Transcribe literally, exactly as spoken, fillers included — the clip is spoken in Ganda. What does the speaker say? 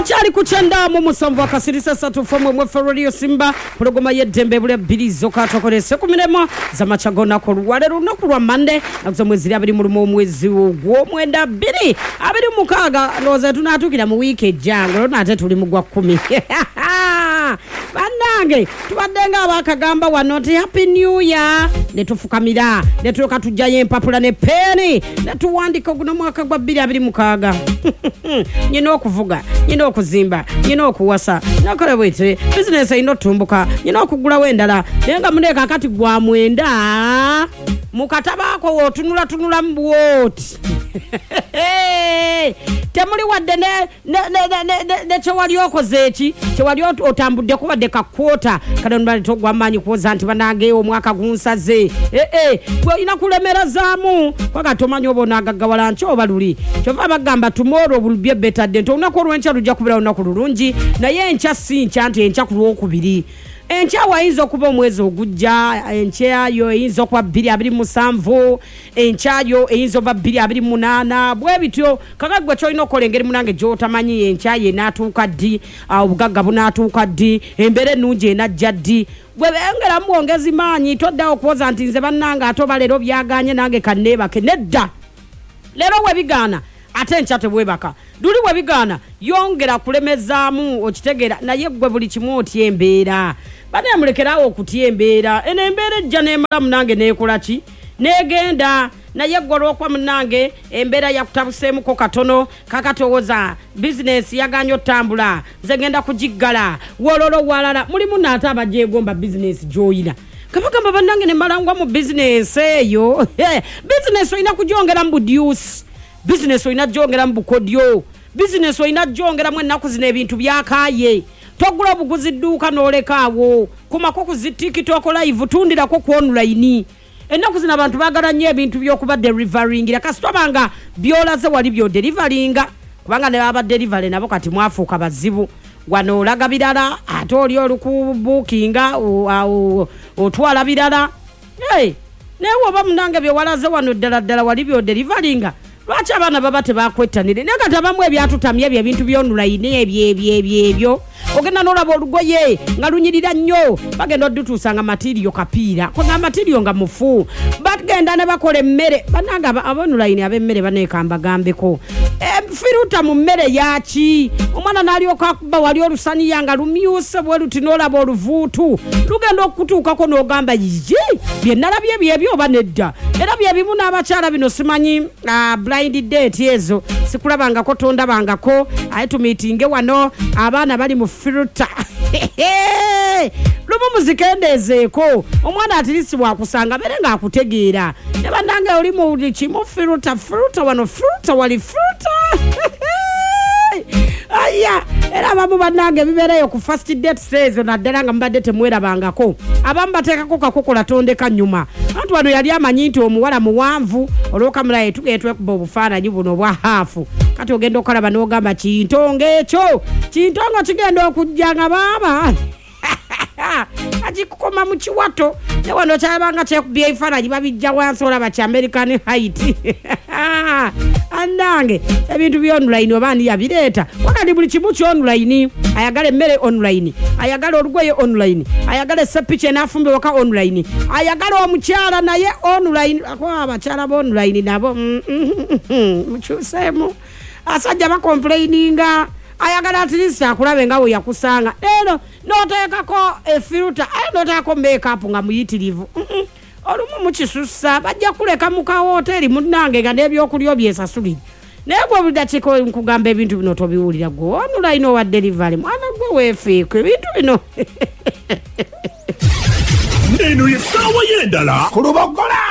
Okyali ku kyenda mu musanvu akasirisa ssatu fm mwefe Radio Simba, pulogoma y'eddembe bule bbiri zokka tokolese ku miremo z'amakya g'olunaku olwaleero, lunaku lwa Mande, nakuza mwezi abiri mu lumu omwezi ogw'omwenda bbiri abiri mu mukaaga. Ndowooza tunaatuukira mu wiiki ejja nga olwo ate tuli mu gwa kkumi. Bannange, tubadde nga abakagamba wano nti happy new year, ne tufukamira ne tulyoka tujjayo empapula ne peeni ne tuwandika guno mwaka gwa bbiri abiri mukaaga. Nyina okuvuga, nyina okuzimba, nyina okuwasa, nakola bwete bizinesi erina otutumbuka, nyina okugulawo endala. Naye nga muneeka kati gwa mwenda mu katabaako wootunulatunulamu bwoti temuli wadde ne kyewali okoze eki kyewali otambuddeko wadde kakwota. Kale nbaleta ogw'amaanyi kuwoza nti banange omwaka gunsaze. Ee, gwe olina kulemerazaamu kwaga tomanyi oba onaagaggawala nkya oba luli. Kyova bagamba tomorrow will be a better day, nti olunaku olw'enkya lujja kubeera lunaku lulungi, naye enkya si nkya nti enkya ku lwokubiri. Enkya wayinza okuba omwezi ogujja, enkya yo eyinza okuba bbiri abiri musanvu, enkya yo eyinza okuba bbiri abiri munaana, bwe bityo. Kaka gwe kyolina okukola engeri munange gy'otamanyi enkya ye enaatuuka ddi, obugagga bunaatuuka ddi, embeera ennungi enajja ddi, gwe bengeramu bwongezi maanyi. Toddawo okuwoza nti nze bannange ate oba leero byagaanye nange kanneebake. Nedda, leero we bigaana ate enkya tebwebaka, luli we bigaana yongera kulemezaamu, okitegeera. Naye gwe buli kimu otya embeera, banaye mulekerawo okutya embeera. Eno embeera ejja n'emala munange n'ekola ki n'egenda. Naye gwe olw'okuba munnange embeera yakutabuseemuko katono, kakati owoza bizinesi yagaanye otambula, nze ngenda kugiggala wololo walala. Mulimu naate abagyegomba bizinesi gy'oyina, kabagamba bannange ne malangwa mu bizinesi eyo. Bizinesi olina kugyongera mu budyusi, bizinesi olina gyongera mu bukodyo, bizinesi olina gyongeramu. Ennaku zino ebintu byakaaye, togula obuguzi dduuka n'olekaawo, kumako ku zi TikTok live, tundirako ku online. Ennaku zino abantu baagala nnyo ebintu by'okuba deliveringira, kasita nga byolaze wali byodelivaringa, kubanga ne baba delivery nabo kati mwafuuka bazibu. Wano olaga birala, ate oli olukubuukinga otwala birala. Naye woba munange byewalaze wano ddala ddala wali byodelivaringa, lwaki abaana baba tebakwettanire? Naye kati abamu ebyatutamye ebyo ebintu by'online ebyo ebyo ebyo ebyo, ogenda n'olaba olugoye nga lunyirira nnyo, bagenda oddutuusa nga matiriyo kapiira, kwega matiriyo nga mufu. Bagenda ne bakola emmere, bannange ab'online ab'emmere baneekamba gambeko firuta mu mmere yaki? Omwana n'alyoka akuba wali olusaniya nga lumyuse bwe luti, n'olaba oluvuutu lugenda okutuukako n'ogamba yigi bye nalabye byebyo oba nedda. Era byebimu n'abakyala bino simanyi blind date ezo sikulabangako tondabangako, aye tumiitinge wano abaana bali mu firuta lumu muzikendeezeeko, omwana atirisi bwakusanga beere ng'akutegeera. Ne bannange oli mu buli kimu firuta firuta wano firuta wali firuta aya. Era abamu bannange bibeereyo ku first dates ezo, naddala nga mubadde temwerabangako, abamu bateekako kakokola tondeka nnyuma. Anti wano yali amanyi nti omuwala muwanvu, olw'okamulaye tugende twekuba obufaananyi buno obwa haafu, kati ogenda okalaba n'ogamba kintongo ekyo kintongo kigenda okujja nga baaba akikukoma mu kiwato. Ne wano kyabanga kyekubya ebifaananyi babijja wansi olaba kya American height. Annange ebintu by'online oba ani yabireeta? Wakati buli kimu ky'online, ayagala emmere online, ayagala olugoye online, ayagala esepiki enaafumba ewaka online, ayagala omukyala naye online. Akuba abakyala b'online nabo mukyuseemu, asajja bakomplaininga, ayagala at least akulabe nga we yakusanga. Leero n'oteekako efiruta, aye n'oteekako makeup nga muyitirivu, olumu mukisussa bajja kuleka mu kawoteeri munnange nga n'ebyokulya obyesasulire. Naye gwe buli dakiika nkugamba ebintu bino tobiwulira, gwe online owa delivery mwana gwe weefiiko ebintu bino. Eno ye ssaawa y'endala ku Lubogola.